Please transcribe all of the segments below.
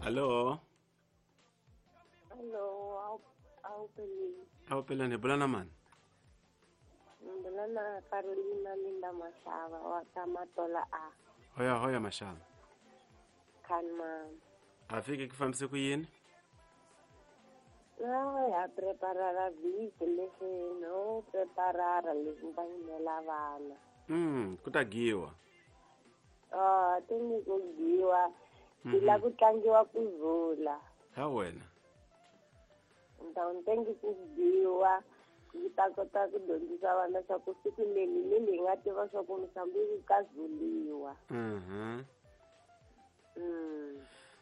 Allo. Allo, au peleni. Au peleni bulana man. Bulana Carolina Linda Mashava wa Kamatola a. Hoya hoya Mashava. Kan man. Afike ku fambise ku yini? No, ya preparara vhiki leswi no preparara leswi va yimela vana. Ku ta giwa. Ah, ti ni ku giwa. Ti la ku tlangiwa ku zula. Ha wena. Ndawuntengi ku giwa ku ta kota ku dyondzisa vana swa ku siku leri ni leyi nga tiva swa ku Mozambique ka zuliwa.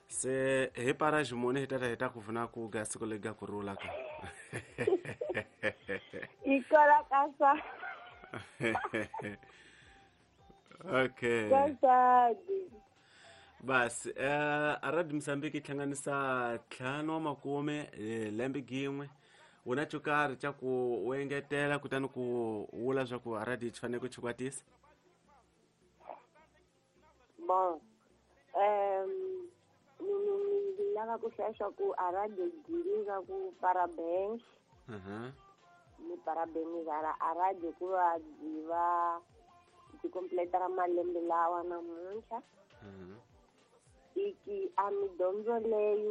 Se hi para ximuni hi tata hi ta ku pfuna ku ga siku leri ga ku rula ka. Ikola ka sa. Okay. Ka sadi. Basi Radio Mozambique yi hlanganisa 5 wa makume lembe gin'we wu na xo karhi xa ku u engetela kutani ku vula swa ku radio yi fanele ku chikwatisa. Bon, ni lava ku hlaya swa ku a radio gini ka ku parabéns. Ni parabéns a radio ku va byi va byi completera malembe lawa namuntlha. Iki a midyondzo leyi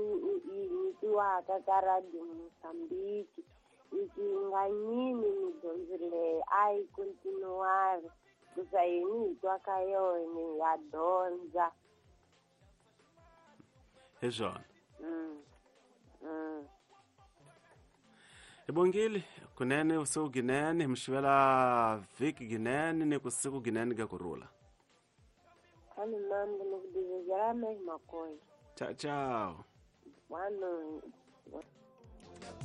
yi nyikiwaka ka Radio Mozambique iki nga nyimi midyondzo leyi a yi continuari kusa yini hi twa ka yona ya dyondza. Hi swona. Hi bongile kunene vusiku ginene hi mi xivela vhiki ginene ni ku siku ginene ka kurhula. Ciao ciao. Boa noite.